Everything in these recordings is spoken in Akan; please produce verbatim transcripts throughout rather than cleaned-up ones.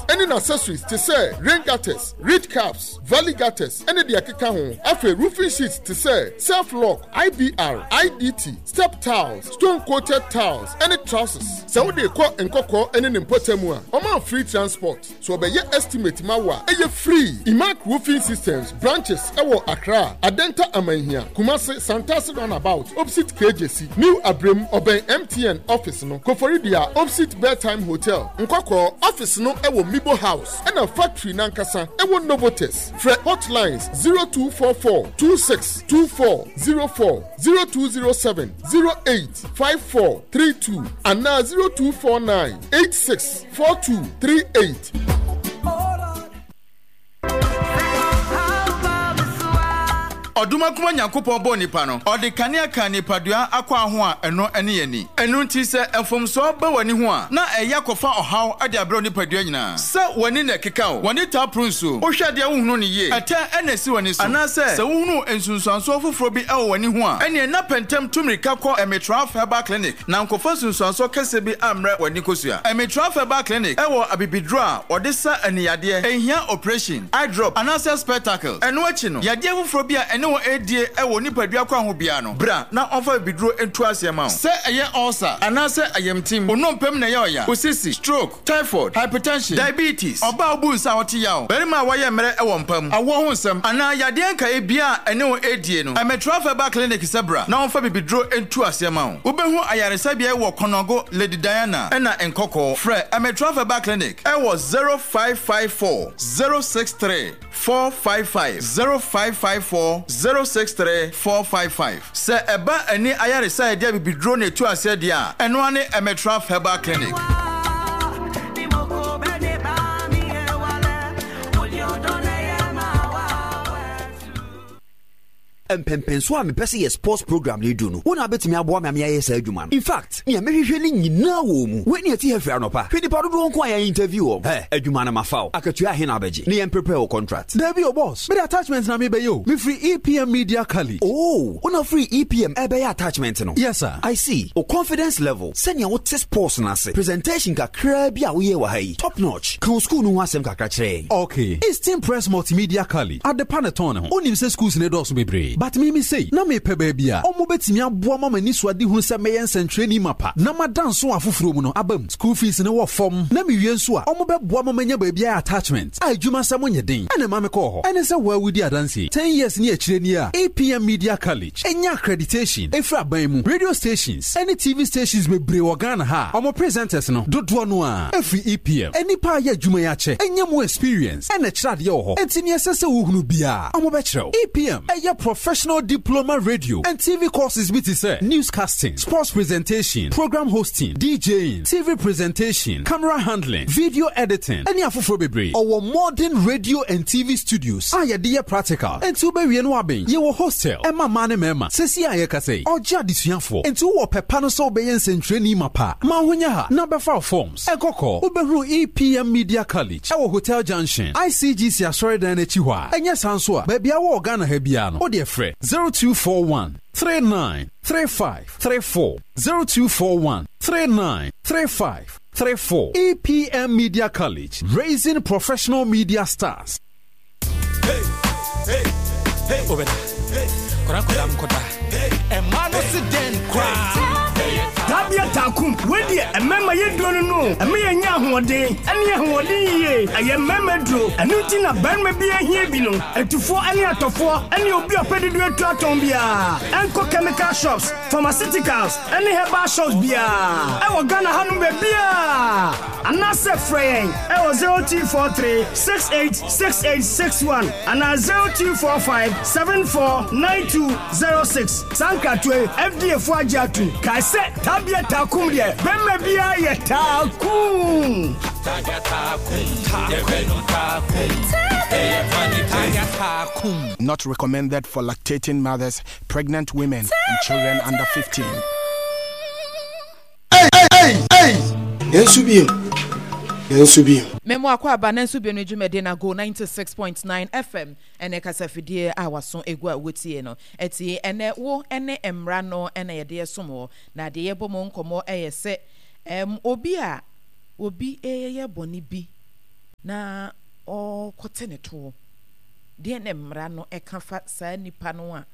Ɛne n'accessories te sɛ rain gutters, ridge caps, valley gutters ɛne deɛ ɛkeka ho. Afei roofing sheets te sɛ self lock, I B R, I D T, step tiles, stone coated tiles ɛne trusses. Sɛ wode kɔ Nkɔkɔɔ ɛne ne mpɔtam a, ɔma free transport. So ɔbɛyɛ estimate ma wo a, ɛyɛ free. Imac Roofing Systems branches ɛwɔ Accra, Adenta Amanhia, Kumase, Santasi Roundabout, opposite K J C, New Abrem, ɔbɛn M T N office no, Koforidua, opposite Bedtime Hotel, Nkɔkɔɔ office no ɛwɔ Mibo House, ɛna factory nankasa ɛwɔ Novotes. Frɛ hotlines zero two four four two six two four zero four, zero two zero seven zero eight five four three two anaa zero two four nine eight six four two three eight. Ɔdomankoma Nyankopɔn bɔɔ nipa no, ɔde kanea ka nipadua akɔ ho a ɛno ne ani. Ɛno nti sɛ mfomsoɔ ba w'ani ho a, na ɛyɛ akɔfa ɔhaw de abrɛ nipadua nyinaa. Sɛ w'ani na ɛkeka wo, w'ani taa poro nsuo, wohwɛ adeɛ wohunu no yie, ɛtɛ ɛna ɛsi w'ani so, anaasɛ sɛ wohunu nsunsuansoɔ foforɔ bi ɛwɔ w'ani ho a, ɛneɛ na pɛntɛm tu mmirika kɔ Emitraf Herbal Clinic na nkɔfa nsunsuansoɔ kɛseɛ bi ammrɛ w'ani kosua. Emitraf Herbal Clinic ɛwɔ abibiduro a wɔde sa aniyadeɛ, ɛnhia operation, eye drop anaasɛ spectacles. Ɛno akyi no, yadeɛ foforɔ bi a ɛne wɔn ɛredie ɛwɔ nipadua kwan ho biara no, bra na ɔmfa bibiduro ntu aseɛ ma wo. Sɛ ɛyɛ ulcer anaasɛ ayamtim, onompem na ɛyɛ ɔya, osisi, stroke, typhoid, hypertension, diabetes, ɔbaa obu nsa a ɔte yaw, barima a wɔyɛ mmerɛ ɛwɔ mpa mu, awoɔ ho nsɛm anaa yadeɛ nkaeɛ bia a ɛne wɔn ɛredie no, Ɛmɛtraf Herbal Clinic sɛ bra na ɔmfa bibiduro ntu aseɛ ma wo. Wobɛhu ayaresabea wɔ Kɔnɔgo, Lady Diana ɛna Nkɔkɔɔ. Frɛ Ɛmɛtraf Herbal Clinic ɛwɔ zero five five four zero six three four five five, zero five five four zero six three four five five. Sɛ ɛba ani ayaresa a yɛde abibiduro na etu aseɛ deɛ a, ɛno ara ne Ɛmɛtraf Herbal Clinic. Mpɛmpɛnso a mepɛ sɛ yɛ sports program no du no, wo na wobɛtumi aboa me ame ayɛ saa adwuma no. In fact, nea mehwehwɛ no nyinaa wɔ mu. Wei ne ɛte ha firi anɔpa, hwɛ nipa dodoɔ nko a yɛn interview wɔ hɛ. Adwuma no mafa wo. Akatua ahe na abɛgye ne yɛn prepare wo contract? Dabi o, boss, mede attachment na mebɛyɛ o. Mefiri E P M Media College. Oh, wona firi E P M ɛbɛyɛ attachment no? Yes sir. I see. O confidence level, sɛnea wote sports no ase, presentation kakraa bi a woyɛ wɔ ha yi, top notch. Ka wo school no ho asɛm kakra kyerɛ yɛn. Okay, Eastern Press Multimedia College, adepa ne tɔn ne ho. Wonim sɛ schools ne dɔɔso bebree, but mimi sei na mepɛ baabi a ɔmo bɛtumi aboa ma m'ani so ade hunu sɛ mɛyɛ nsɛntwerɛni mapa na mada nso afoforɔ mu no aba mu. School fees ne wɔ fam na mewie nso a, ɔmo bɛboa ma manya baabi ayɛ attachment a adwuma sɛ monyɛ den. Ɛna ma mekɔɔ hɔ ɛne sɛ woawodi adanseɛ ten years ne akyirɛ ni a E P M Media College ɛnya accreditation ɛfiri aban mu. Radio stations ɛne T V stations bebree wɔ Ghana ha a ɔmo presenters no dodoɔ no a ɛfiri E P M. Ɛnipa a yɛ adwuma yi akyɛ ɛnya mu experience ɛna ɛkyerɛ adeɛ wɔ hɔ, enti neɛ ɛsɛ sɛ wohunu biara ɔmo bɛkyerɛ wo. E P M ɛyɛ professional diploma radio and T V courses bi te sɛ newscasting, sports presentation, program hosting, DJing, T V presentation, camera handling, video editing ɛne afoforɔ bebree. Ɔwɔ modern radio and T V studios a yɛde yɛ practical, enti wobɛwie no abɛn. Yɛwɔ hostel ɛma mmaa ne mmarima. Sɛsi a yɛkasa yi, ɔgye adesuafoɔ, enti wowɔ pɛpa no sɛ wobɛyɛ nsɛntwerɛni ma pa ma ho nyɛ ha na bɛfa wo forms. Ɛkɔkɔ wobɛhunu E P M Media College ɛwɔ Hotel Junction, I C G C asɔredan no akyi hɔ a ɛnyɛ saa nso a, baabi a wɔ Ghana ha biara no, wode frɛ zero two four one three nine three five three four, zero two four one three nine three five three four. E P M Media College, raising professional media stars. Hey, hey, hey, Obeda. Kora kora nkoda. Ɛma no se den koraa. Tabia Taakum wedeɛ ɛmɛma yɛ duro no no ɛmɛ yɛ nya ahoɔden ɛne ahoɔden yie. Ɛyɛ mɛma duro, ɛno nti na barima bi ahia bi no. Atufoɔ ɛne atɔfoɔ ɛne obi a ɔpɛ dodo atu atɔn biara ɛnkɔ chemical shops, pharmaceuticals ɛne herbal shops biara ɛwɔ Ghana hanom baabiaa, anaasɛ frɛ yɛn ɛwɔ zero two four three six eight six eight six one anaa zero two four five seven four nine two zero six. Saa nkratoɔ yi, F D A fo agye atom. Kae sɛ Tabia Taakum deɛ, bɛrima biara yɛ taakum. Tabia Taakum. Yɛfɛ no taakum. Ɛyɛ funny. Tabia Taakum. Not recommended for lactating mothers, pregnant women, and children under fifteen. Hey, hey, hey! Nanso bio, nanso bio. Memo akɔ aba nanso bio no dwumadi na Go ninety-six point nine F M ɛne kasafidie a waso egu a wotie no. Ɛti ɛnɛ wo ɛne mmara no ɛna yɛde ɛsom wɔ na deɛ yɛbɔ mu nkɔmmɔ ɛyɛ sɛ ɛm obi a obi ɛyɛ bɔne bi. Na ɔrekɔte ne toɔ. Deɛn na mmara no ka fa saa nipa no a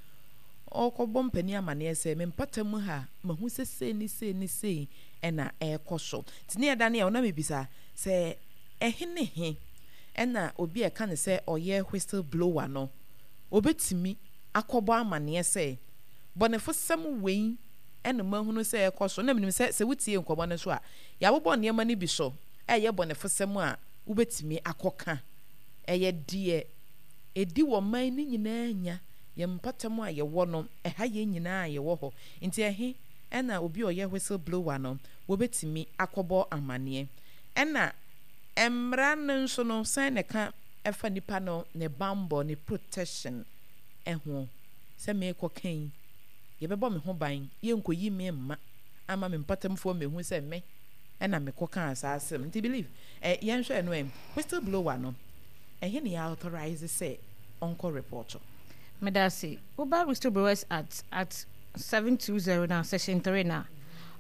ɔrekɔbɔ mpanin amaneɛ sɛ me mpata mu ha mahu sɛ sei ne sei ne sei na ɛrekɔ so? Nti ne yɛda ne yɛ na mebisa sɛ ɛhe ne he ɛna obi a ɛka ne sɛ ɔyɛ whistle blower no obɛtumi akɔbɔ amaneɛ sɛ bɔnefosɛm wei ɛna mahunu sɛ ɛkɔ so? Na menim sɛ sɛ wotie nkɔmmɔ no so a, yɛabobɔ nneɛma no bi so ɛyɛ bɔnefosɛm a wobɛtumi akɔka. Ɛyɛ deɛ ɛdi wɔ man no nyinaa nya yɛn mpatam a yɛwɔ no, ɛha yɛn nyinaa a yɛwɔ hɔ. Nti ɛhe ɛna obi a ɔyɛ whistle blower no wɔbɛtumi akɔbɔ amanneɛ? Ɛna mmara no nso no, sɛn na ɛka ɛfa nipa no ne bambɔ, ne protection ɛho, sɛ meekɔ kan yɛbɛbɔ me ho ban, yɛnkɔyi me mma ama me mpatamfoɔ mehu sɛ me ɛna mekɔ kaa saa asɛm? Nti believe ɛ yɛnhwɛ no, ɛ whistle blower no, ɛhe ne yɛ authorize sɛ ɔnkɔ report? Medase. Woba Whistleblowers Act, Act seven two zero now, section three now.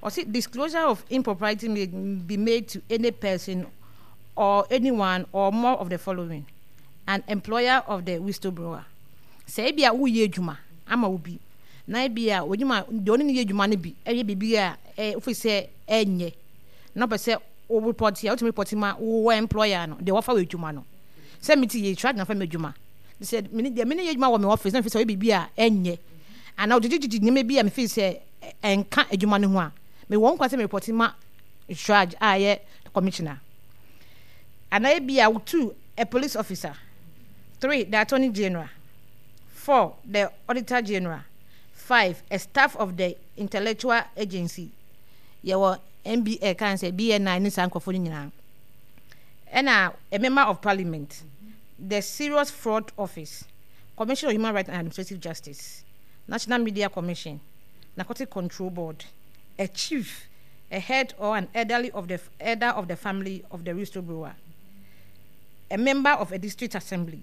Ɔse disclosure of impropriety may be made to any person or anyone or more of the following: an employer of the whistleblower. Sɛ ebi a woyɛ adwuma ama wo bi na ebi a odwuma deɛ ɔne ne yɛ adwuma no bi ɛyɛ biribi a ɛ ofi sɛ ɛnyɛ na ɔpɛ sɛ wo report a, wotumi report ma wo employer no deɛ wɔfa wɔ adwuma no. Sɛ mi ti yɛ try na fa mi adwuma sɛ mene deɛ mene yɛ adwuma wɔ me office na mefi sɛ ɔyɛ biribi a ɛnyɛ anaa ɔgyegyegyegye nneɛma bi a mefi sɛ ɛnka adwuma no ho a, mewɔ nkwa sɛ me report ma CHRAJ a ɛyɛ commissioner anaa ebi a, two, a police officer; three, the Attorney General; four, the Auditor General; five, a staff of the intellectual agency. Yɛwɔ N B L kan sɛ B N I ne saa nkurɔfoɔ no nyinaa, ɛna a member of parliament, the Serious Fraud Office, Commission of Human Rights and Administrative Justice, National Media Commission, Narcotic Control Board, a chief, a head or an elderly of the elder of the family of the whistleblower, a member of a district assembly,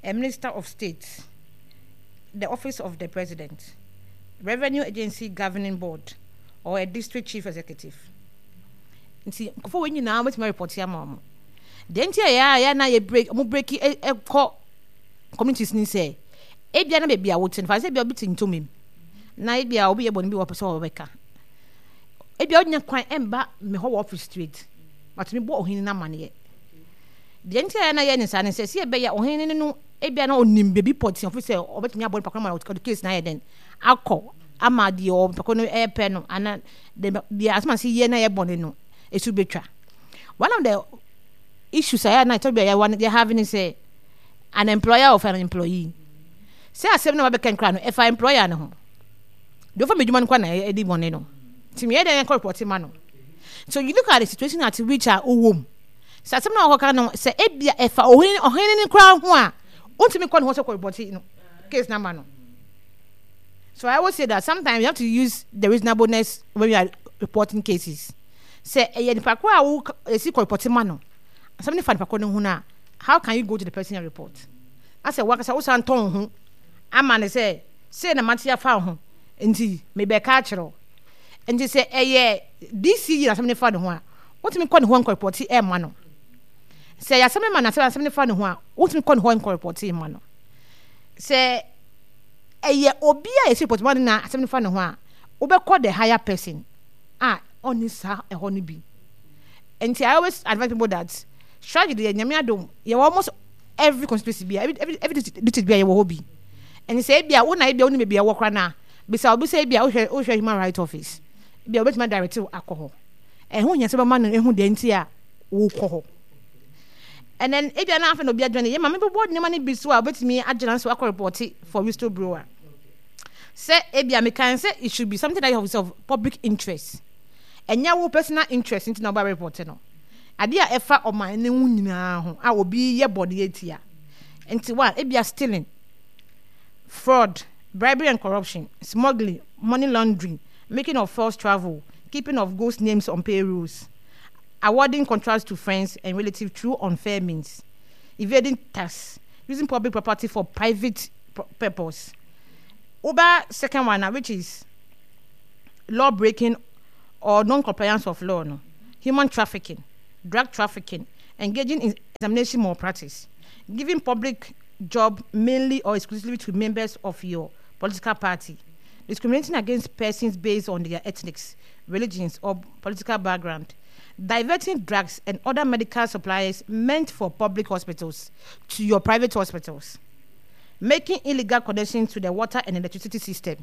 a minister of state, the Office of the President, Revenue Agency Governing Board, or a district chief executive. Nti nkɔfo wɔn nyinaa wɔbɛtumi report ama wɔn. Deɛ nti a yɛ a yɛ na yɛ break ɔmo break ɛkɔ communities ni sɛ ebia na beebi a wote no fa sɛ ebia obi te ntoma mu na ebia obi yɛ bɔnne bi wɔ pɛ sɛ ɔbɛka, ebia onya kwan ɛmba me hɔ wɔ office straight, watumi bɔ ɔhene n'amaneɛ. Deɛ nti a yɛ na yɛ ne saa ne sɛ si ɛbɛyɛ ɔhene no ebia na onim beebi pɔtee ɔfi sɛ ɔbɛtumi abɔ nipa koro ma ɔde case na ayɛ dɛn akɔ ama deɛ ɔnipa koro no ɛɛpɛ no ana deɛ asoma si yɛ na yɛ bɔne no esu betwa. One of the issues a yɛ na ɛtɔ bi a yɛ yɛ have ne sɛ an employer of an employee, sɛ asɛm na wabɛka nkira no ɛfa employer no ho deɛ, ɔfa mi adwuma no kɔ na ɛdi bɔne no, nti mi yɛ dɛ yɛn kɔ report ma no. So you look at the situation at which a ɔwɔ mu sɛ asɛm na ɔkɔka no sɛ ebia ɛfa ɔhene ɔhene no koraa ho a, wontumi kɔ ne ho sɛ kɔ report no case number no. So I always say that sometimes you have to use the reasonableness when you are reporting cases. Sɛ ɛyɛ nipa koro a wo esi kɔ report ma no, asɛm ne fa nipa koro no ho no, how can you go to the person and report asɛ wakasa wosan tɔn ho ama ne sɛ sei na mate afa ho nti mebɛka akyerɛw? Nti sɛ ɛyɛ D C E na asɛm ne fa ne ho a, wotumi kɔ ne ho nkɔ report ɛma no. Sɛ ɛyɛ asɛm ma na asɛm asɛm ne fa ne ho a, wotumi kɔ ne hɔ nkɔ report ma no. Sɛ ɛyɛ obi a yɛsi report ma no na asɛm ne fa ne ho a, wobɛkɔ the higher person a ɔne saa ɛhɔ no bi. Nti I always advise people that strategy deɛ, Nyame adom, yɛwɔ almost every constituency bi, every every every district bi a yɛwɔ hɔ bi. Ɛnti sɛ ebi a wo na ebi a wo ne baabi a ɛwɔ koraa na bisa obi sɛ ebi a wohwɛ wohwɛ human rights office ebi a, wobɛtumi adirect akɔ hɔ. Ɛho hia sɛ bɛma no ehu deɛ nti a wokɔ hɔ. And then ebi a na afei na obi adwene yɛ maame bɛbɔ nneɛma no bi so a wobɛtumi agyina so akɔ report for whistleblower sɛ ebi a mekan sɛ it should be something that is of public interest, ɛnyɛ wo personal interest nti na ɔba report no. Adeɛ a ɛfa ɔman ne ho nyinaa ho a obi yɛ bɔne atia nti, one, ebia stealing, fraud, bribery and corruption, smuggling, money laundering, making of false travel, keeping of ghost names on payrolls, awarding contracts to friends and relatives through unfair means, evading tax, using public property for private purpose. Woba second one now, which is law breaking or non-compliance of law no: human trafficking, drug trafficking, engaging in Examination malpractice, giving public job mainly or exclusively to members of your political party, discriminating against persons based on their ethnics, religions, or political background, diverting drugs and other medical supplies meant for public hospitals to your private hospitals, making illegal connections to the water and electricity system.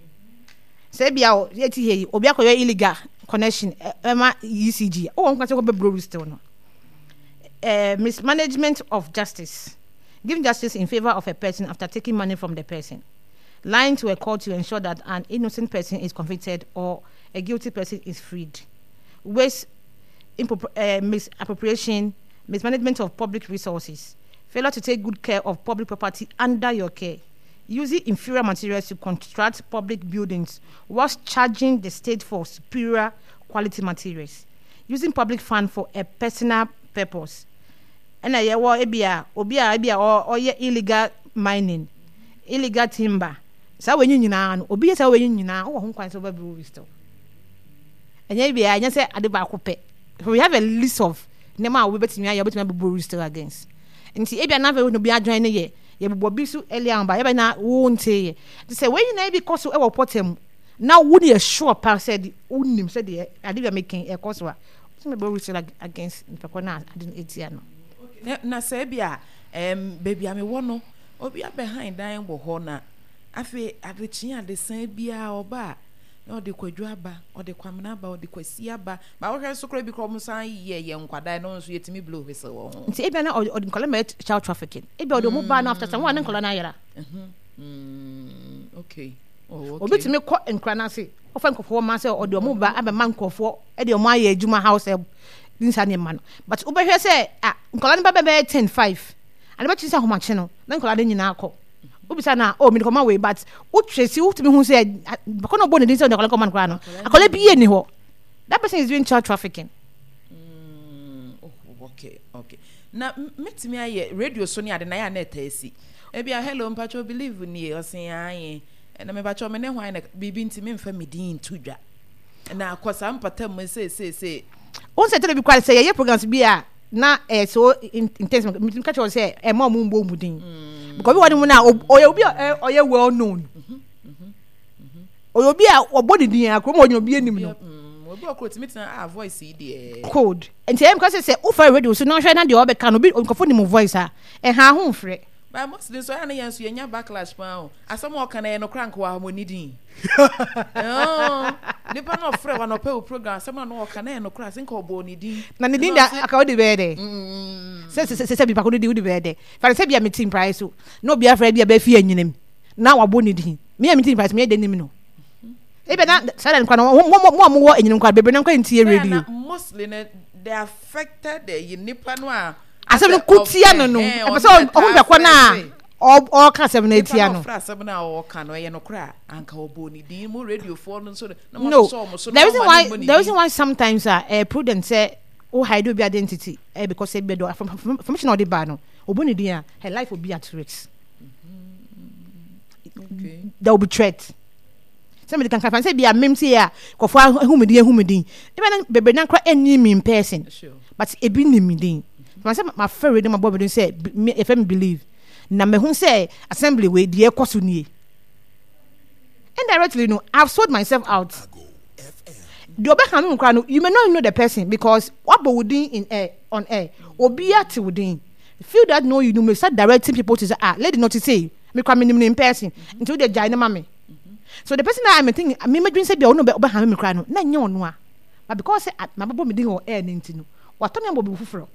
Sɛ ebia yɛti ha yi, obi akɔyɛ illegal connection ɛma E C G, ɔwɔ nkwa sɛ kɔbɛ still no. uh, mismanagement of justice, giving justice in favor of a person after taking money from the person, lying to a court to ensure that an innocent person is convicted or a guilty person is freed, waste, uh, misappropriation, mismanagement of public resources, failure to take good care of public property under your care, using inferior materials to construct public buildings whilst charging the state for superior quality materials, using public fund for a personal purpose. Ɛna yɛwɔ ebi a obi a ebi a ɔyɛ illegal mining, illegal timber. Saa wɔn nyinaa no, obi yɛ saa wɔn nyinaa, ɔwɔ ho kwan sɛ ɔbɛ whistle. Ɛnyɛ ebi a ɛnyɛ sɛ ade baako pɛ. So we have a list of nneɛma a wobɛtumi ayɛ, wobɛtumi abɛbɔ whistle against. Nti ebi a n'afɛ obi adwan ne yɛ yɛbobɔ bi so earlier on ba yɛbɛ na wo nte yɛ nti sɛ wɔn nyinaa bi kɔ so ɛwɔ pɔtɛ mu na wo ne yɛ sure pa sɛ de wonim sɛ deɛ ade bi a meka ɛkɔ so a, wotumi bɛ whistle against nipa na ade no etia no. Na sɛ ebi a ɛɛm beebi a mewɔ no, obi abɛhan dan wɔ hɔ na afei adekyee adesan biara ɔba a, na ɔde Kwadwo aba, ɔde Kwamina aba, ɔde Kwasi aba. Ba wohwɛ nso koraa bi koraa, ɔmo san yɛ yɛ nkwadaa no nso, yɛtumi blow whistle wɔ ho. Nti ebia na ɔde ɔde nkwadaa ma yɛ child trafficking, ebia ɔde ɔmo ba no, after some one ne nkwadaa no ayera. Mm, okay oh, okay. Obi tumi kɔ nkura n'ase, ɔfa nkurɔfoɔ ma sɛ ɔde ɔmo ba abɛma nkurɔfoɔ, ɛde ɔmo ayɛ adwuma, house help ne nsa nneɛma no, but wobɛhwɛ sɛ ah, nkwadaa no ba bɛbɛyɛ ten five ade bɛkyi sɛ ahomakye no na nkwadaa no nyinaa kɔ. Wobisa na, oh, mede kɔma wei, but wotwe si wotumi hu sɛ bakɔ na ɔbɔ ne din sɛ ɔde akwadaa kɔma no koraa no, akwadaa bi yɛ ni hɔ. That person is doing child trafficking. Mm, oh, okay okay na mɛtumi ayɛ radio so ne ade na yɛ a na ɛta asi ebi a, "Hello, mpatwɛ, Believe nie." Ɔsen aye, ɛna mepatwɛ, me ne hwan na biribi nti memfa me din nto dwa na akɔ saa mpata mu seeseesei. Wɔn sɛ tɛlɛ bi kora sɛ yɛyɛ programs bi a na ɛyɛ so intense, mitumi ka kyerɛ sɛ ɛma ɔmo mbɔ ɔmo din because obi wɔ ne mu na ɔyɛ obi a ɔyɛ well known, ɔyɛ obi a ɔbɔ ne din a kurom ɔnyɛ obi anim no. Obi wɔ kuro tumi tena a voice yi deɛ. Code nti ɛyɛ because sɛ wofa radio so na ɔhwɛ na deɛ ɔbɛka no, obi nkɔfo nim voice a ɛha ho mfrɛ. But mostly nso ɛyà ne yɛn nso yɛnya backlash paa o. Asɛm a ɔka no yɛ nokora nka wɔ ahomoni din nipa na ɔfrɛ wa na ɔpɛ wo program, asɛm a na ɔka na yɛ nokora ase nka ɔbɔ ne din. Na ne din da aka wode bɛyɛ dɛ sɛ sɛ sɛ sɛ nipa ko no di wode bɛyɛ dɛ fane sɛ bia mete mpraeɛ so na obi afrɛ bi a bɛfi anyinam na wabɔ ne din, me a mete mpraeɛ so meyɛ dɛ nim no, ebi na saa da nkwa no mo mo a mowɔ anyinam nkwa bebree na nkwa ntie radio. Mostly no, the affected the nipa no a asɛm no ko tia no no ɛpɛ sɛ ɔho bɛkɔ no a ɔka asɛm no atia no. Nipa na ɔfrɛ, asɛm no a ɔka no ɛyɛ nokorɛ a, anka ɔbɔ ne din mu radiofoɔ no nso na no the reason why the reason why sometimes uh, uh, prudent sɛ wo hide obi identity uh, because ebi do information a ɔde ba no, ɔbɔ ne din a, her life will be at risk. okay. There will be threat sɛ mede kankan fan sɛ bi a mem sɛ a kɔfoɔ ahu me din ahu me din ebi na bebree na nkora ɛnni me in person sure. but ebi nim me din ma sɛ mafɛ radio, ma bɔ me din sɛ yɛfɛ me Believe na mehu sɛ assembly wei deɛ ɛkɔ so nie. Indirectly no, I've sold myself out. Deɛ ɔbɛka no nkora no, you may not know the person because wabɔ wo din in air, on air, obi ate wo din. Few that know you, you may start directing people to say, "Ah, lady not to say me kora me nim no in person, nti wo de gyae ne ma me." So the person that I'm thinking me medwin sɛ bia ɔno ɔbɛha me kora no na nyɛ ɔno a, but because sɛ mabɛbɔ me din wɔ air ne nti no, watɔ me ama obi foforɔ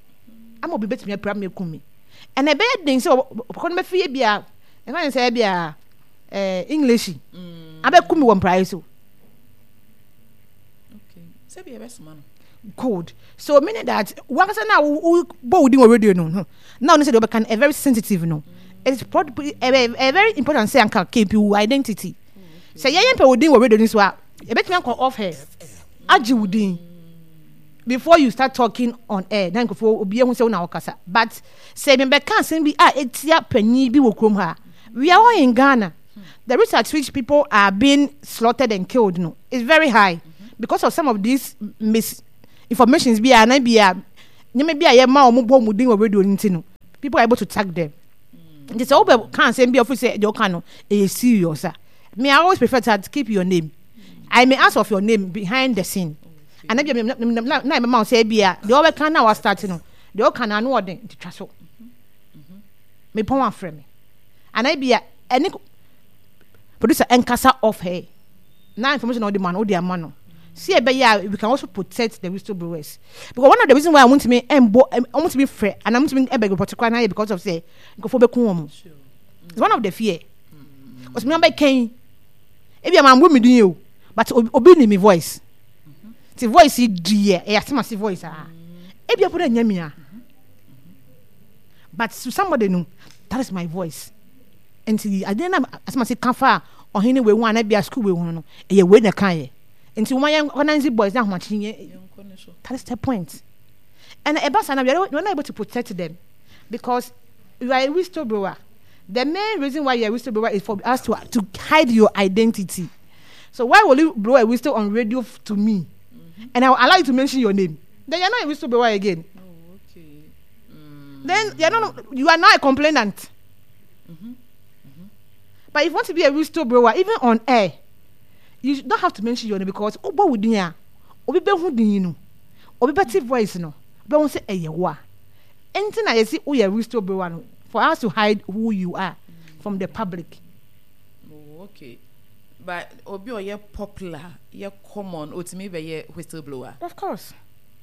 ama obi bɛtumi apira me, akum me. Ɛna ɛbɛyɛ den sɛ ɔkɔ no bɛfi ebi a ɛfa ne sɛ ebi a ɛɛ English abɛkum me wɔ mpraeɛ so. Sɛbi ɛbɛsoma no. Good, so meaning that wankasa na wo bɔ wo din wɔ radio no no na ɔno sɛ deɛ ɔbɛka no ɛ very sensitive no, it's probably ɛ ɛ very important sɛ anka keep wo identity. Sɛ yɛyɛ mpɛ wo din wɔ radio no so a, ebɛtumi akɔ off air agye wo din before you start talking on air na nkurɔfoɔ obi ehu sɛ wo na ɔkasa. But sɛ mebɛka asɛm bi a etia panyin bi wɔ kurom ha, we are all in Ghana, the risk at which people are being slaughtered and killed no is very high because of some of these misinformations bi a na bi a nneɛma bi a yɛma wɔn bɔ wɔn din wɔ radio no nti no. People are able to tag them. Nti sɛ wobɛ ka asɛm bi a ɔfiri sɛ deɛ ɔka no ɛyɛ serious a, me I always prefer to keep your name. I may ask of your name behind the scene. Ana bi na ɛmɛma wo sɛ ebi a deɛ ɔbɛka na wa start no, deɛ ɔka no ano ɔden nti twa so. Mepɔn afrɛ me. Ana ebi a ɛne producer ɛnkasa off her. Na information na ɔde ma no, ɔde ama no. Si ɛbɛyɛ a we can also protect the whistleblowers. Because one of the reasons why wɔntumi ɛmbɔ wɔntumi frɛ anaa wɔntumi ɛbɛ report koraa na yɛ because of sɛ nkurɔfoɔ bɛku wɔn. It's one of the fear. Ɔsɛ mi abɛkɛn ebi a maa mbɔ mi din o, but obi ni mi voice. Ti voice yi di yɛ ɛyɛ asemase voice ah. Ebi apo na nya mi a. But to somebody no, that is my voice. Nti adeɛ na asemase ka fa ɔhene wei ho anaa bi a school wei ho no, ɛyɛ wei na ɛka yɛ. Nti wɔn ayɛ organize boys na ahomakye yɛ. That is the point. And ɛba saa na we are not able to protect them because you are a whistleblower. The main reason why you are a whistleblower is for us to to hide your identity. So why will you blow a whistle on radio to me, mm-hmm. and I will allow you to mention your name? Then you are not a whistleblower again. Oh, okay. Mm. Then you are not you are now a complainant. Mm-hmm. Mm-hmm. But if you want to be a whistleblower, even on air, you don't have to mention your name because obo within ya, obi behu din no, obi bɛte voice no, bɛhu sɛ ɛyɛ wo a. Enti na yɛsi woyɛ whistleblower no for us to hide who you are from the public. Oh, okay. But obi ɔyɛ popular, yɛ common, otumi bɛyɛ whistleblower. Of course.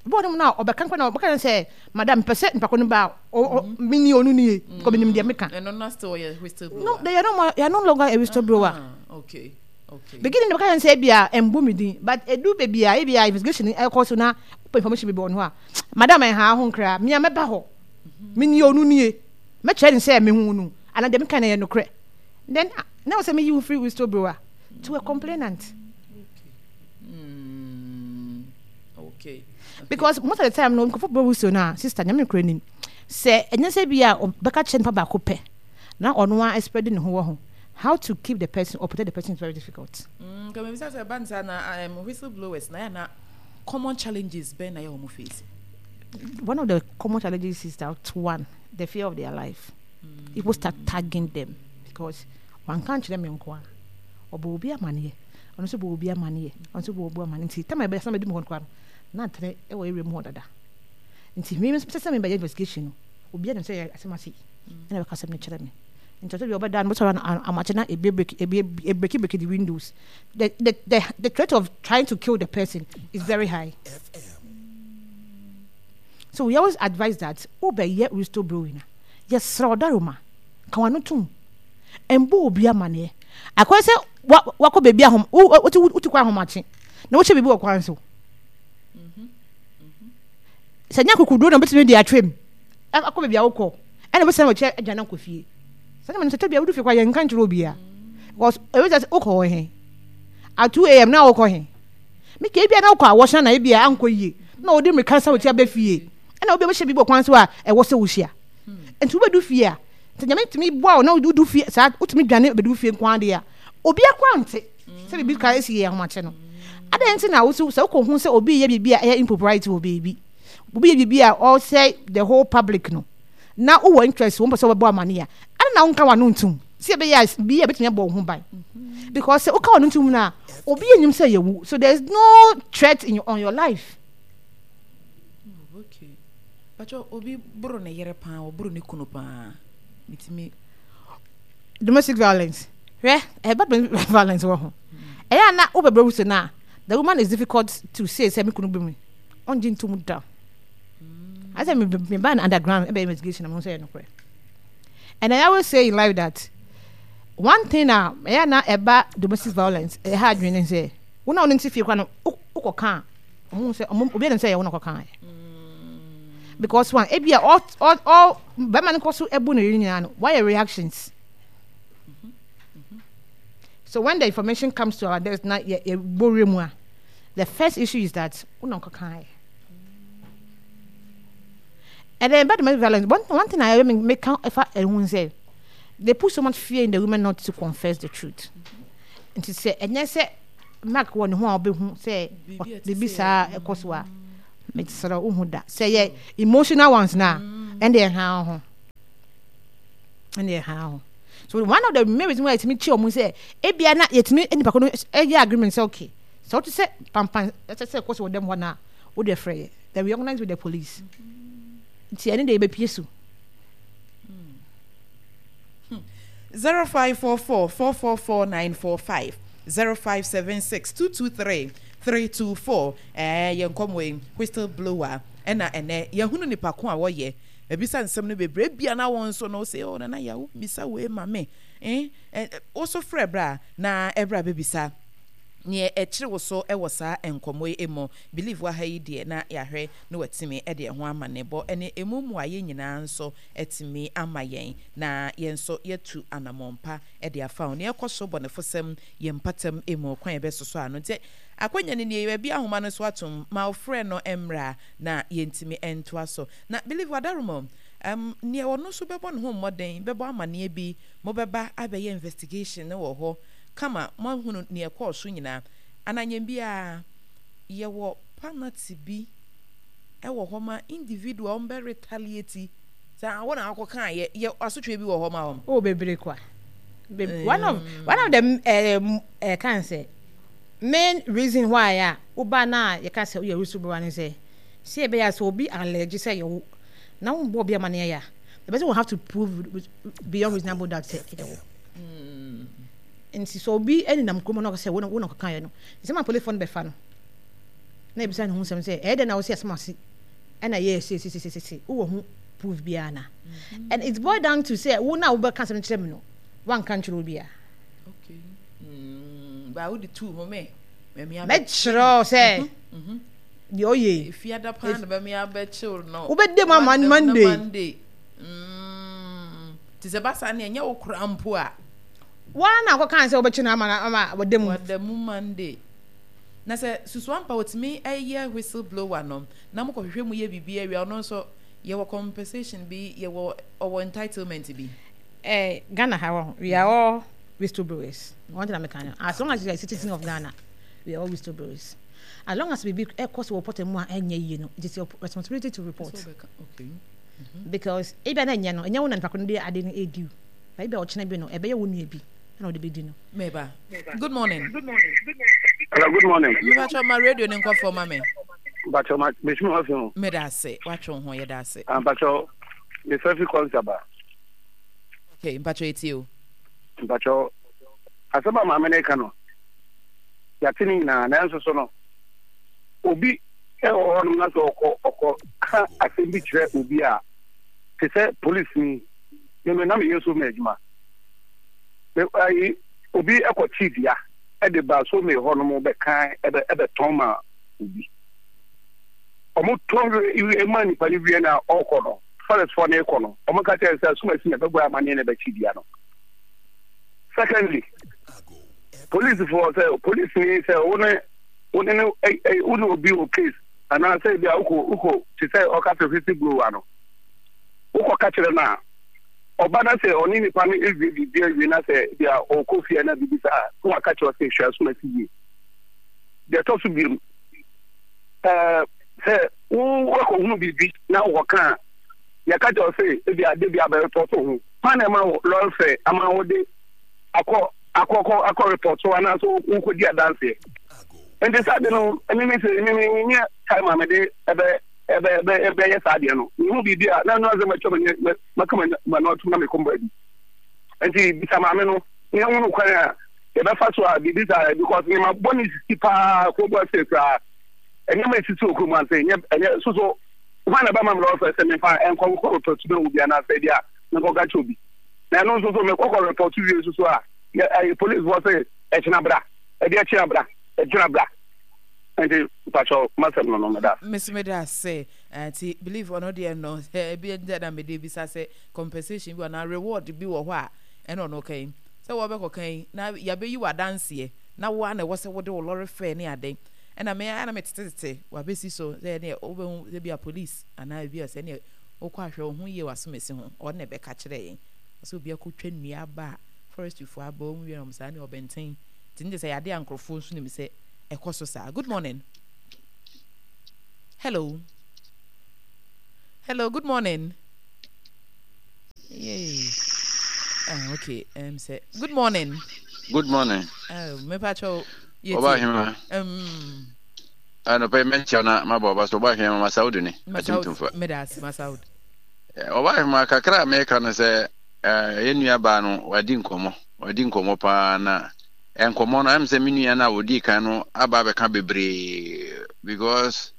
Bɔɔl no mu na ɔbɛka nkwa na ɔbɛka sɛ madam pɛ sɛ nipa ko no ba a mini ɔno nie because menim deɛ meka. Ɛno na still ɔyɛ whistleblower. No, they are no they are no longer a whistleblower. Uh-huh. Okay. Okay. Beginning no bɛka sɛ ebia ɛmbu me din but edu baabi a ebia investigation ɛkɔ so na wopɛ information bi wɔ no a madam ɛha ho nkra mea mɛba hɔ mini ɔno nie mɛkyerɛ ne sɛ mehu no anaa deɛ meka no yɛ nokorɛ then na wɔ sɛ meyi wo firi whistleblower to a complainant. Okay. Mm. Okay. Because most of the time no nkurɔfoɔ bɔ whistle no a sister nyame kura nim sɛ ɛnyɛ sɛ bi a ɔbɛka kyerɛ nipa baako pɛ na ɔno a spread ne ho wɔ ho how to keep the person or protect the person is very difficult. Mm, kama bisa sɛ ban saa na um, whistleblowers na yɛ na common challenges bɛn na yɛ wɔn face. One of the common challenges is that one, the fear of their life. Mm. People start tagging them because one can't kyerɛ me nko a ɔbɔ obi amaneɛ ɔno nso bɔ obi amaneɛ ɔno nso bɔ obi amaneɛ nti tama ɛbɛyɛ sɛ mɛdi mu hɔ koraa no na atene ɛwɔ area mu hɔ dada nti mi sɛ sɛ mebɛyɛ investigation no obi anim sɛ yɛ asɛm ase ɛna bɛka asɛm no kyerɛ me nti ɔsɛ bi ɔbɛda no bɛsɔrɔ amakye na ebi break ebi break break the windows the the the the threat of trying to kill the person is very high. So we always advise that wobɛyɛ whistleblowing a yɛsrɛ ɔdaroma ka w'ano tom mbɔ obi amaneɛ akɔyɛ sɛ wakɔ baabi ahom wote wote kwan ahomakye na wohyɛ biribi wɔ kwan so sɛ nyɛ akokoduro na wobɛtumi de atwam akɔ baabi a wokɔ ɛna wobɛsan wɔkyɛ adwane akɔ fie sɛ ne ma no sɛ tɛ bia wodu fie kɔ a yɛnka nkyerɛ obiara because ɛwɛ sɛ wokɔ hɔ he at two a.m. na wokɔ he meka ebia na wokɔ awɔhyɛn na ebia ankɔ yie na wɔde mmirika sa wɔkyi aba fie ɛna obi a bɛhyɛ biribi wɔ kwan so a ɛwɔ sɛ wohyia nti wobɛdu fie a sɛ nyame tumi boa wo na wodu fie saa wotumi dwane bɛdu fie nko adeɛ a obi akora nte sɛ biribi ka esi yɛ ahomakye no adɛn nti na wosi sɛ wokɔ hu sɛ obi yɛ biribi a ɛyɛ impropriety wɔ baabi obi yɛ biribi a ɔsɛ the whole public no na wowɔ interest wɔn pɛ sɛ wɔbɛbɔ amane a adɛn na wonka w'ano ntom sɛ ɛbɛyɛ a bi a ɛbɛtumi abɔ wo ho ban because sɛ woka w'ano ntom no a obi anim sɛ yɛwu so there is no threat in your, on your life. Oh, okay. Pacho obi boro ne yere paa, ɔboro ne kunu paa. Metumi domestic violence. Hwɛ, ɛba domestic violence wɔ ho. Ɛyɛ a na wobɛbrɛ wo so na the woman is difficult to say sɛ me kunu bi me. Ɔngye ntom da. I said me me ban underground ɛbɛ investigation na mo sɛ ɛyɛ nokorɛ. And I always say in life that one thing a ɛyɛ na ɛba domestic violence ɛha adwene ne sɛ wo na wo ne nte fie kora no wokɔ ka a ɔmo sɛ ɔmo obi anim sɛ ɛyɛ wo na ɔkɔ kan because one ebi a all all all bɛrima no kɔ so ɛbu ne yere nyinaa no wayɛ reactions so when the information comes to our desk na yɛ yɛ bɔ wura mu a the first issue is that wo na ɔkɔ kan yɛ and then about domestic violence one one thing I make ɛfa ɛho sɛ they put so much fear in the women not to confess the truth nti sɛ ɛnyɛ sɛ mark wɔ ne ho a ɔbɛhu sɛ biribi saa ɛkɔ so a mesrɛ wohu da sɛ yɛ emotional ones no a ɛnde ɛha ho. Ɛna ɛha ho. So one of the main reasons why yɛtumi kye wɔn sɛ ebia na yɛtumi nipa ko no ɛyɛ agreement sɛ okay, sɛ wote sɛ pampan ɛsɛ sɛ ɛkɔ so wɔ dɛm hɔ na wode frɛ yɛ, then we organize with the police. Nti ɛne deɛ yɛbɛpie so. Zero five four four four four four nine four five zero five seven six two two three three two four. Ɛɛ yɛn nkɔmɔ yi, whistle blower, ɛna ɛnɛ yɛhunu nipa ko a wɔyɛ ebisa nsɛm no bebree bia na wɔn nso no sɛ, oh, Nana yɛ bisa wei ma me, eh ɛ woso frɛ bra na ɛbra bɛbisa neɛ ɛkyerɛ wo so ɛwɔ saa nkɔmɔ yi mu. Believe wɔ ha yi deɛ na yɛahwɛ na watumi ɛde ɛho ama ne bɔ ɛne emu mmuayɛ nyinaa nso ɛtumi ama yɛn na yɛn nso yɛtu anammɔnpa ɛde afa ho nea ɛkɔ so bɔnefosɛm yɛn mpatam emu kwan yɛbɛsoso ano. Nti akonnwa no nie, baabi ahoma no so atom ma ɔfrɛ no mmra na yɛntumi ntoa so. Na Believe Wadaroma, um, nea ɔno nso bɛbɔ ne ho mmɔden bɛbɔ amanneɛ bi, mobɛba abɛyɛ investigation no wɔ hɔ kama, moahunu nea ɛkɔɔ so nyinaa. Ananyɛn biara yɛwɔ penalty bi ɛwɔ hɔ ma individual ɔmbɛ retaliate sɛ wɔn na akɔka yɛ yɛ asotwe bi wɔ hɔ ma wɔn. Oh, bebree kwa. Be one of one of the um, uh, kan sɛ main reason why a woba na yɛka sɛ woyɛ whistleblower ne sɛ sɛ ɛbɛyɛ a sɛ obi allege sɛ yɛwo na wombɔ obi amanneɛ yɛ a, the person will have to prove beyond reasonable doubt sɛ ɛyɛ wo. Nti sɛ obi nenam kurom na ɔka sɛ wo na wo na ɔkekaeɛ no, nsɛm a policefoɔ no bɛfa no na ebisa ne ho nsɛm sɛ ɛyɛ dɛn na wo sɛ asɛm ase ɛna ɛyɛ sesesesese, wowɔ ho proof biara na and it's boiled down to sɛ wo na wobɛka asɛm no kyerɛ me no, wanka nkyerɛ obiara. Okay. Mm, ba wode tu ho me. Mɛkyerɛ sɛ deɛ ɔyɛ yi. Efiada paa na bɛmi abɛkyew no. Wobɛdi mu ama Monday. Monday. Mm. Te sɛ basa ne ɛnyɛ wo kora mpo a. Waa na akɔka sɛ wobɛkye no ama ama wɔda mu. Wɔda mu Monday. Na sɛ susuampa otumi ɛyɛ whistle blower no na mokɔhwehwɛ mu yɛ biribi awia, ɔno nso yɛwɔ compensation bi, yɛwɔ ɔwɔ entitlement bi. Eh, Ghana ha wɔ, we are all whistleblowers. One thing I'm kind, as long as you are a citizen of Ghana, we are all whistleblowers. As long as biribi ɛkɔ so wɔ pɔtɛ mu a ɛnyɛ yie no, it is your responsibility to report. Okay. Mm-hmm. Because ebi a na ɛnyɛ no, ɛnyɛ wo na nipa ko no de ade no edi o. But ebi a ɔkyena bi no, ɛbɛyɛ wo nua bi ɛna ɔde bɛdi no. Meba. Good morning. Hello, good morning. Mebatwa ma radio ne nkɔfoɔ ma me. Mpakyɛw ma mesumi hɔ fi ho. Meda ase, watwe wo ho, yɛda ase. Mpakyɛw, mefrɛ fi Kɔnsaba. Okay, mpakyɛw etie o. Mpakyɛw, asɛm a maame no ka no, yɛate ne nyinaa, nanso so no, obi ɛwɔ hɔnom na sɛ ɔkɔ ɔkɔ ka asɛm bi kyerɛ obi a, te sɛ polisini, meme na meyɛ so ma adwuma. Me ayi obi ɛkɔ kyi dua ɛde ba so me hɔnom bɛka ɛbɛ ɛbɛtɔn ma obi. Ɔmo tɔn wie ma nipa no wie na ɔkɔ no, forestfoɔ no kɔ no, ɔmo ka kyerɛ sɛ asomasi na ɛbɛbɔ amaneɛ na ɛbɛkyi dua no. Secondly, policefoɔ sɛ police ni sɛ wo ne wo ne no wo ne obi wɔ case anaasɛ ebi a wokɔ wokɔ te sɛ ɔka sɛ whistle blower no, wokɔ ka kyerɛ no a, ɔba na sɛ ɔne nipa no ewie biribi awie na sɛ ebi a ɔkɔ fie na biribi saa na waka kyerɛ sɛ hwɛ asomasi yie. Deɛ ɛtɔ so biom, ɛɛ sɛ wo wakɔhunu biribi na wokɔka a, yɛka kyerɛ sɛ ebi a de bi abɛrepɔto ho kwan na ɛma wo lɔre fɛ ama wo de akɔ akɔkɔ akɔ repɔto anaasɛ wokɔdi adanseɛ. Nti saa de no ɛne me sɛ me menyɛ time a mede ɛbɛ ɛbɛ ɛbɛ ɛbɛyɛ saa deɛ no, mehu biribi a na ɛno asɛ matwa m'ani maka m'ano atom na mekɔ baabi. Nti bisa maame no na ɛhunu kwan a yɛbɛfa so a biribi saa, because nneɛma bɔne sisi paa kurom ase koraa, nneɛma esisi wɔ kurom ase ɛnyɛ ɛnyɛ soso hwan na ɛbɛma me lɔre fɛ sɛ mefa nkɔ nkɔ repɔto na obi anaasɛ bi a menkɔka kyerɛ obi, na ɛno nso so mekɔkɔ repɔto wie nso so a yɛ ɛyɛ police fɔ sɛ ɛkyena bra, ɛde ɛkyena bra, ɛkyena bra. Nti mpakyɛw masɛm no no meda. Mesi meda ase. Nti believe ɔno deɛ no ebi nti na mede bisa sɛ compensation bi anaa reward bi wɔ hɔ a, ɛna ɔno kan sɛ wɔbɛkɔ kan na yɛabɛyi wɔ adanseɛ na wo a na ɛwɔ sɛ wode wo lɔre fɛ ne ade, ɛna me ara na me tetetete wabɛsi so sɛ ɛneɛ wobɛhu sɛ bi a police anaa ebi a sɛ ɛneɛ wokɔ ahwɛ wo ho yie wɔ asomasi ho, ɔno na ɛbɛka kyerɛ yɛn sɛ obi akɔtwa nnua aba a forestryfoɔ aba wɔn wie na wɔn saa ne ɔbɛnten nti ne sɛ yɛade a nkurɔfoɔ nso nim sɛ ɛkɔ so saa. Good morning. Hello, hello, good morning. Yay. Ah, okay. Um, sɛ good morning. Good morning. Oh, mepa kyɛw. Ɔba ahema. Um. Anɔpa yi mɛnkyɛw na mabɔ ɔba so. Ɔba ahema, Masaud ni. Akyemtumfa. Meda ase, Masaud. Ɔba ahema, kakra a meka no sɛ yɛn nua baa no wadi nkɔmmɔ. Wadi nkɔmmɔ paa na nkɔmmɔ no ɛm sɛ me nua no a wɔdii kan no aba abɛka bebree because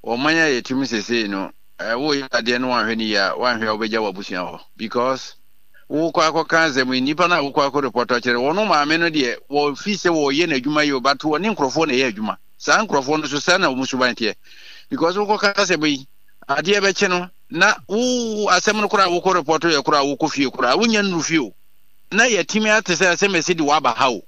ɔman a yɛte mu sesei no, woyɛ adeɛ no wanhwɛ no yie a, wanhwɛ a wobɛgya w'abusua hɔ because wokɔ akɔka asɛm yi, nnipa no a wokɔ akɔ report akyerɛ no, wɔn maame no deɛ wɔfi sɛ wɔyɛ n'adwuma yie, but wɔne nkurɔfoɔ na ɛyɛ adwuma. Saa nkurɔfoɔ no so saa na wɔn suban teɛ because wokɔka asɛm yi, adeɛ bɛkye no na wo asɛm no koraa wokɔ report yɛ koraa wokɔ fie koraa wonya nnuru fie o na yɛatumi ate sɛ asɛm ɛsi de waba ha o.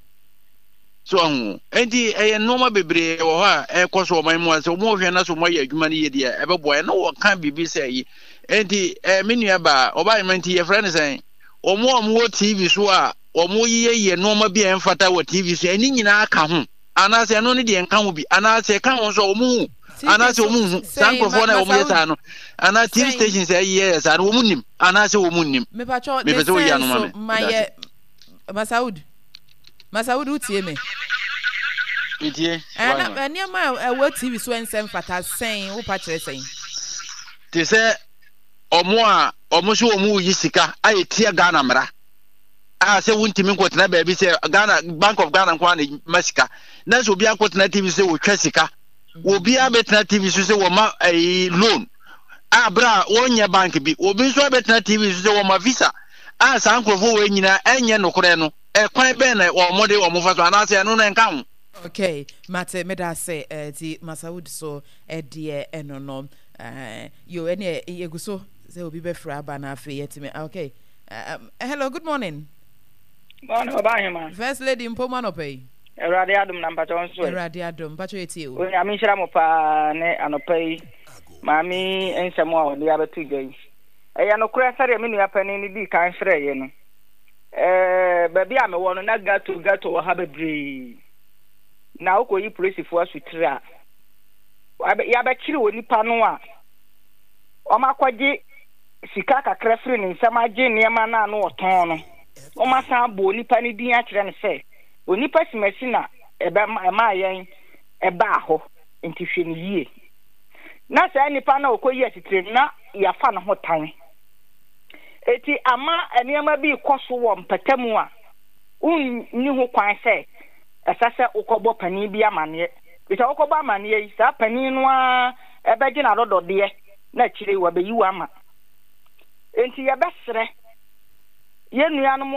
So ahu? Enti ɛyɛ nneɛma bebree wɔ hɔ a ɛkɔ so ɔman mu a sɛ wɔn hwɛ na so wɔn ayɛ adwuma no yie deɛ ɛbɛboa yɛn. Na wɔka biribi sɛ yi. Enti ɛɛ me nua baa ɔbaa yɛn nti yɛfrɛ no sɛn? Wɔn a wɔwɔ T V so a wɔyeyɛyɛ nneɛma bi a ɛmfata wɔ T V so, ɛne nyinaa ka ho anaasɛ ɛno ne deɛ nka ho bi, anaasɛ ɛka ho nso a wɔn hu anaasɛ wɔn nhu saa nkurɔfoɔ no a wɔyɛ saa no, anaa T V stations a ɛyɛ saa no, wɔn nim anaasɛ wɔn nnim? Mepɛ sɛ woyi ano ma me. Masaud. Masaud, wotie me? Metie. Ɛna nneɛma a ɛwɔ T V so ɛnsɛ mfata sɛn, wopa kyerɛ sɛn? Te sɛ ɔmo a ɔmo so ɔmo yi sika a ɛtia Ghana mmara a sɛ wontumi nkɔtena baabi sɛ Ghana Bank of Ghana nko ara na ma sika, na sɛ obi akɔtena T V so sɛ wɔtwa sika, obiara bɛtena T V so sɛ wɔma ɛyi loan a berɛ a wɔnyɛ bank bi, obi nso abɛtena T V so sɛ wɔma visa a saa nkurɔfoɔ wɔ nyinaa ɛnyɛ nokorɛ no, ɛkwan bɛn na wɔn de wɔn fa so anaasɛ ɛno no ɛnka ho? Okay, mate, meda ase. Ti Masaud so ɛdeɛ ɛno no yo, ɛne yɛgu so sɛ obi bɛfrɛ aba na afei yɛtumi. Okay, um, hello, good morning. Morning, Ɔba Ahema. First Lady mpo mu anɔpa yi. Awurade adom na mpakyɛ nso ɛ. Awurade adom, mpakyɛ yɛtie o. Onyame nhyira mo paa ne anɔpa yi maame nsɛm a ɔde abɛto dwa yi. Ɛyɛ nokorɛ sɛdeɛ me nua panin no dii kan frɛeɛ no. Ɛɛ baabi a mewɔ no na gato gato wɔ ha bebree. Na wokɔyi polisifoɔ asotire a, yɛabɛkyere onipa no a wɔakɔgye sika kakra firi ne nsam agye nneɛma no a na ɔtɔn no. Wɔasan abɔ onipa no din akyerɛ no sɛ onipa simasi na ɛmaa yɛn ɛbaa hɔ, nti hwɛ no yie. Na saa nipa no a ɔkɔyi asitire no, na yɛafa ne ho tan. Eti ama nneɛma bi rekɔ so wɔ mpatamu a wonni ho kwan sɛ ɛsɛ sɛ wokɔbɔ panin bi amanneɛ. Efisɛ wokɔbɔ amanneɛ yi, saa panin no ara bɛgye n'adɔdɔdeɛ na akyire yi wabeyi wo ama. Enti yɛbɛsrɛ yɛn nuanom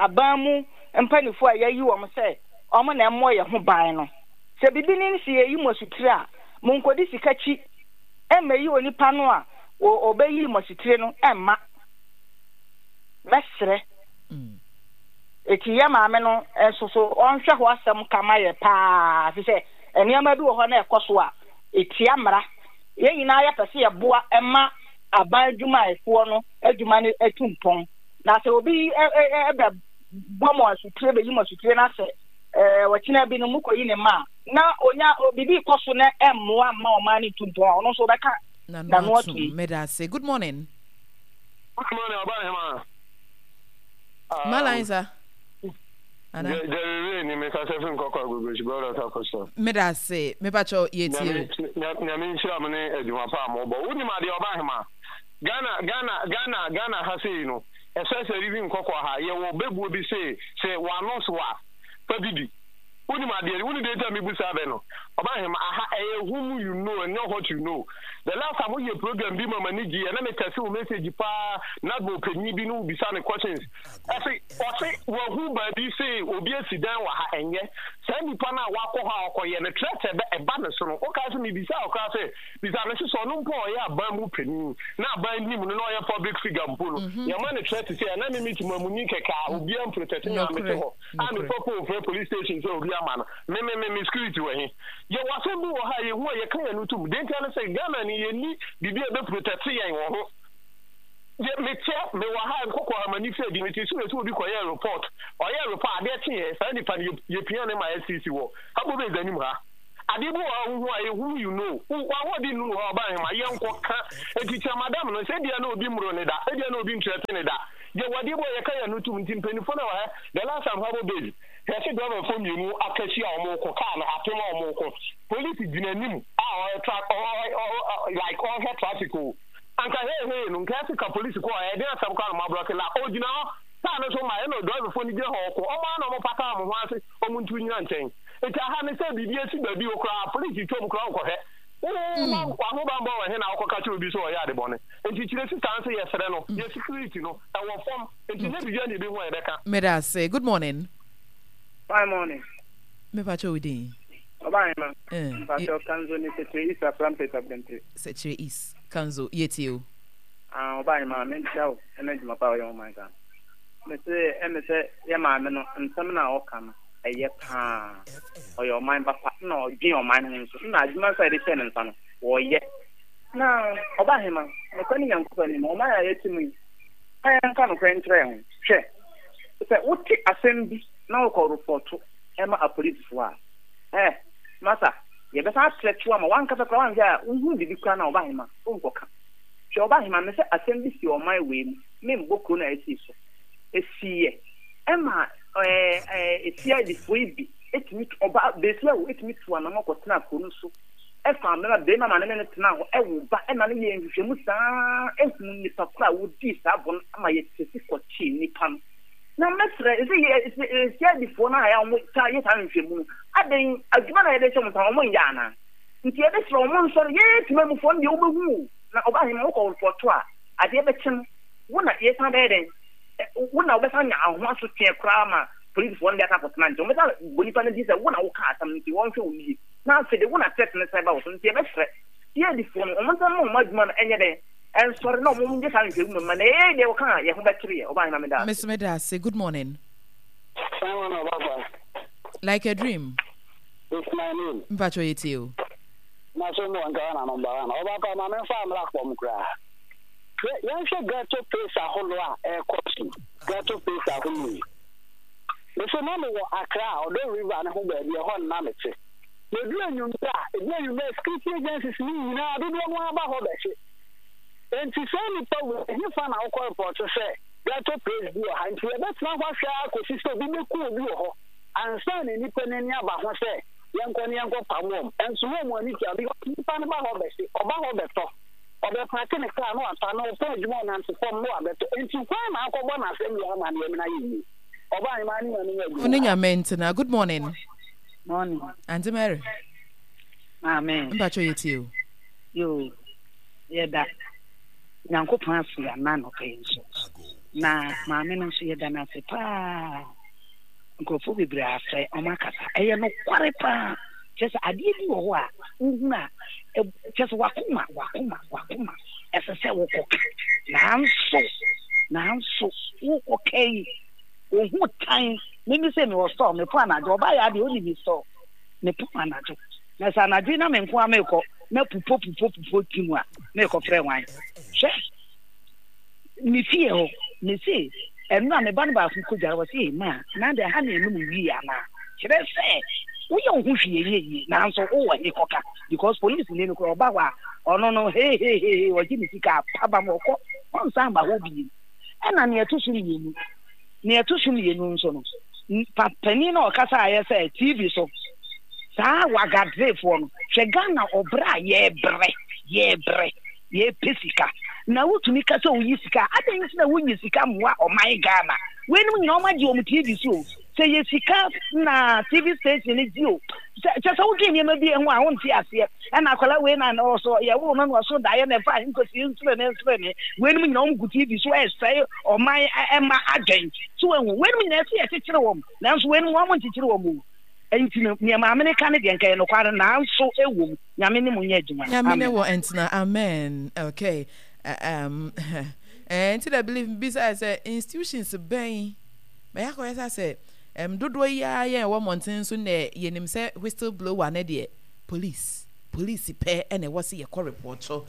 aban mu mpanimfoɔ a yɛayi wɔn sɛ wɔn na ɛmmɔ yɛn ho ban no, sɛ biribi ne sɛ yɛyi mo asutire a, monkɔdi sika akyi mmɛyi onipa no a ɔbɛyi mo asutire no mma. Mɛsrɛ. Eti yɛ maame no nso so ɔnhwɛ hɔ asɛm ka ma yɛ paa, efisɛ nneɛma bi wɔ hɔ na ɛkɔ so a etia mmara. Yɛn nyinaa yɛpɛ sɛ yɛboa ma aban adwumayɛfoɔ no adwuma no atu mpɔn. Na sɛ obi bɛbɔ mo asutire, bɛyi mo asutire na sɛ ɔkyena bi no mokɔyi ne ma a, na onya biribi kɔ so na ɛmmoa mma ɔman no ntu mpɔn a, ɔno nso ɔbɛka n'ano atum. Meda ase. Good morning. Good morning, Ɔbahema. Malan sa. Ana. Jerry Ray ni me kasa fi Nkɔkɔ Agogosi Brothers Apostle. Meda ase. Me pa kyɛw yɛ tie o. Nyame nhyira mo ne adwuma pa a mo bɔ. Wonim adeɛ, Ɔbahema? Ghana Ghana Ghana Ghana ha sei no, ɛsɛ sɛ even Nkɔkɔ ha yɛwɔ bɛbuo bi sei sɛ wano so a fa bi di. Wonim adeɛ, wonim deɛ nti a mebu saa bɛ no? Ɔbahema, aha ɛyɛ whom you know and not what you know. The last time woyɛ program bi ma m'ani gyeeɛ na me text wo message paa na bɔ panyin bi ne wo bisa no questions. Ɔse ɔse wahu baabi se obi asi dan wɔ ha, ɛnyɛ saa nipa no a wakɔ hɔ a ɔkɔyɛ no threat ɛbɛ ɛba ne so no. Wokae sɛ mebisaa wo koraa sɛ bisa no se sɛ ɔno mpo a ɔyɛ aban mu panin na aban nim no na ɔyɛ public figure mpo no yɛma no threat sɛ ɛna me me temamuni kɛkɛ a obiara mprotect me a mete hɔ a mefa phone frɛ police station sɛ obi ama no me me me me security wɔ he? Yɛwɔ asɛm bi wɔ ha a yɛhu a yɛka yɛn ano tom. Deɛ ntia ne sɛ Ghana ni yɛnni biribi a ɛbɛ protect yɛn wɔ ho. Yɛ meteɛ mewɔ ha nkɔkɔ ha m'ani fɛ di mete so sɛ obi kɔyɛ report, ɔyɛ report adeɛ kyeeɛ saa nipa no yɛpia ne ma S C C wɔ ha bobes anim ha. Adeɛ bi wɔ ha wohu a ɛhu you know wo w'ahoɔden nnuru hɔ a ɔba nhema yɛnkɔ ka. Enti kyerɛ madam no sɛ ebia na obi mmoro ne da, ebia na obi ntrɛte ne da. Yɛwɔ adeɛ bi a yɛka yɛn ano tom nti mpaninfoɔ no wɔ ha. The last time Harbour Base yɛse driver foɔ mmienu aka ahyia a wɔn reko car no apem a wɔn reko police gyina anim a ɔyɛ tra ɔ ɔ ɔ like ɔrehwɛ traffic o anka hey hey no nka ɛse ka police kɔ ɛyɛ den asɛm koraa na wɔn abrɔke la ɔgyina hɔ car no so ma ɛna driver foɔ no gyina hɔ ɔko wɔn ara na wɔn pata wɔn ho ase wɔn ntu nyina nkyɛn nti aha ne sɛ biribi asi baabi o koraa police twam koraa ɔnkɔhwɛ Wo w'ahobanbɔ wɔ he na wokɔka kyerɛ obi sɛ ɔyɛ ade bɔne? Nti kyerɛ sista no sɛ yɛsrɛ no, yɛ security no ɛwɔ fam nti nyɛ biribiara na yɛbɛhu a yɛbɛka. Meda ase. Good morning. Fine morning. Me pakyɛ wo din. Ɔba ahema. Eh, Mpakyɛ Kanzo ni Sekyere East Aframpet Abirempire. Sekyere East. Kanzo, yɛtie o. Ah, ɔba ahema, menkyia wo ɛna adwuma pa a ɔyɛ ho man Ghana. Mese ɛme sɛ yɛ maame no nsɛm no a ɔka no ɛyɛ paa. Ɔyɛ ɔman ba pa na ɔdwen ɔman no ho nso. Na adwuma nso a yɛde hyɛɛ ne nsa no, ɔyɛ. Na ɔba ahema, nokorɛ ne Nyankopɔn anim, ɔman a yɛte mu yi, ma yɛnka nokorɛ nkyerɛ yɛn ho. Hwɛ, sɛ wote asɛm bi na wokɔ repɔto ma apolisifoɔ a, eh, masa, yɛbɛsan atrɛte wo ama w'ankasa koraa woanhwɛ a wohunu biribi koraa no a, ɔba ahema, wonkɔka. Hwɛ, ɔba ahema, mesɛ asɛm bi si ɔman wei mu, membɔ kuro no a esii so. Esiiɛ ɛma ɛɛ ɛɛ CID foɔ yi bi tumi tu, ɔbaa, besia o, tumi tu anamɔ kɔtenaa kuro no so ɛfaa mmarima, barima ma ne ne no tenaa hɔ ɛwo ba ɛma no yɛɛ nhwehwɛmu saa ara huu nnipa korɔ a wɔdii saa bɔne no ama yɛtesi kɔkyee nnipa no. Na mɛsrɛ sɛ yɛ CID foɔ no a yɛ a wɔtaa yɛ saa nhwehwɛmu no, adɛn adwuma no a yɛde hyɛ wɔn nsa no wɔnyɛ anaa? Nti yɛbɛsrɛ wɔn nsɔre, yɛn temamufoɔ no deɛ wobɛhu o, na ɔbaa hema wokɔ repɔto a adeɛ bɛkye no wo na yɛsan bɛyɛ dɛn? Wo na wobɛsan anya ho asotweɛ koraa ma polisifoɔ no de asan akɔtena nkyɛn. Wɔbɛsan abɔ nipa no din sɛ wo na wokaa asɛm no nti wɔnhwɛ wo yie. Na afei de wo na threat no san ba wo so nti yɛbɛsrɛ CID foɔ no wɔn nsan mma wɔn adwuma no nyɛ dɛn ɛnsɔre na wɔn nyɛ saa nhwɛmu mma na yɛyɛ deɛ wɔka a yɛn ho bɛkyere yɛ. Ɔbaa hema meda ase. Me nso meda ase. Good morning. Simon Obasa. Like a dream. It's my name. Mpacho yɛtie o. Na so mo nka na no mba na ɔba pa ma me mfa mmra fam koraa. Hwɛ, yɛnhwɛ ghetto place ahorow a ɛrekɔ so yi, ghetto place ahorow yi. Mese na mewɔ Accra, Ɔdɔ River no ho baabi, ɛhɔ no na mete. Na ɛduru anwummerɛ a, ɛduru anwummerɛ a, security agencies no nyinaa, dodoɔ no ara ba hɔ bɛhye. Enti saa nnipa wei, ɛhefa na wokɔ report sɛ ghetto place bi wɔ ha? Nti yɛbɛtena hɔ ahwɛ ara kɔsi sɛ obi bɛku obi wɔ hɔ ansa na nnipa no ani aba ho sɛ yɛnkɔ na yɛnkɔpam wɔn. Ɛnso na wɔn ani tua because nnipa no ba hɔ bɛhye, ɔba hɔ bɛtɔ. Ɔbɛpaake ne kaa na wafa na ɔpɔn adwuma ɔnante fam na wabɛtɔ. Enti hwan na akɔbɔ n'asɛnnua amanneɛ mena ayɛ yie? Ɔbaa hemaa ne Nyame nyɛ Wo ne adwuma. Nyame ntena. Good morning. Morning. Auntie Mary. Maame. Mpacho yɛ tie o. Yoo, yɛda Nyankopɔn ase ana anɔpa yi nso. Na maame no nso yɛda no ase paa. Nkurɔfoɔ bebree afrɛ, wɔn akasa. Ɛyɛ nokware paa. Kyerɛ sɛ adeɛ bi wɔ hɔ a wohunu a, kyerɛ sɛ wakoma, wakoma, wakoma ɛsɛ sɛ wokɔka. Nanso, nanso wokɔka yi, ohu tan. Mimi sɛ mewɔ store, mepɔn anadwo. Ɔbaa yɛ adeɛ, ɔni me store. Mepɔn anadwo. Na sɛ anadwo yi na me nko ara mekɔ, na pupo pupo pupo ti mu a, mekɔfrɛ hwan? Hwɛ. Me fie hɔ, mese ɛno a me ba no baako kɔdware wɔ se ma na de ha ne ɛnom wie anaa kyerɛ sɛ woyɛ wo ho hwee ɛnyɛ yie nanso wowɔ he kɔka because police ni no koraa ɔba hɔ a ɔno no hehehehe ɔgye ne sika apaba ma ɔkɔ ɔnsan ba hɔ bio ɛna nea ɛto so mmienu nea ɛto so mmienu nso no pa panin na ɔkasa ayɛ sɛ TV so saa wagadrefoɔ no hwɛ Ghana ɔbrɛ a yɛbrɛ yɛbrɛ Yɛpɛ sika na wotumi ka sɛ woyi sika a, adɛn nti na wonyi sika mmoa ɔman Ghana? Weinom nyinaa wɔn agye wɔn TV so o. Sɛ yɛ sika na TV station no gye o. Sɛ kyɛ sɛ wodwen nneɛma bi ho a wonte aseɛ. Ɛna akwadaa wei na ɔso yɛwoo no na ɔso daeɛ na ɛfa nkɔsi nserene nserene. Weinom nyinaa wɔn gu TV so ɛresɛe ɔman ɛma adwen. So wahu? Weinom nyinaa ɛsɛ yɛkyekyere wɔn. Nanso weinom wɔn nkyekyere wɔn o. Ɛnti no nea maame no ka no deɛ nka ɛyɛ nokware nanso ɛwom. Nyame ne mo nyɛ adwuma. Nyame ne Amen. wɔ ntena amen okay um eh nti na believe me bisa sɛ institutions bɛn bɛyɛ akɔyɛ sɛ sɛ um dodoɔ yi ara yɛn wɔ mmɔnten so nɛ yɛnim sɛ whistle blower ne deɛ police police pɛ ɛna ɛwɔ sɛ yɛkɔ report